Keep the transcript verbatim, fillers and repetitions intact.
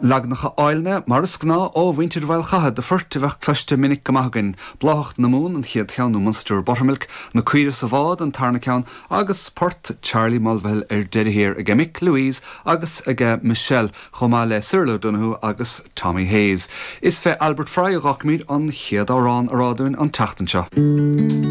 Leaganacha áille mar is gnáth ó mhuintir Mhaoil Chatha de phoirt a bheadh cloiste minic go maith againn, Bláthach na Mumhan an chéad cheann nó Munster Buttermilk, na Caoirigh sa Bhád an tarna ceann agus port Charlie Mulvihill ar deireadh thiar ag Mick Louise agus ag Michelle chomh maith le Cyril O'Donoghue agus Tommy Hayes. Is fé Albert Fry a dh'fhágfaimid an chéad amhrán a rá dúinn an tseachtain seo.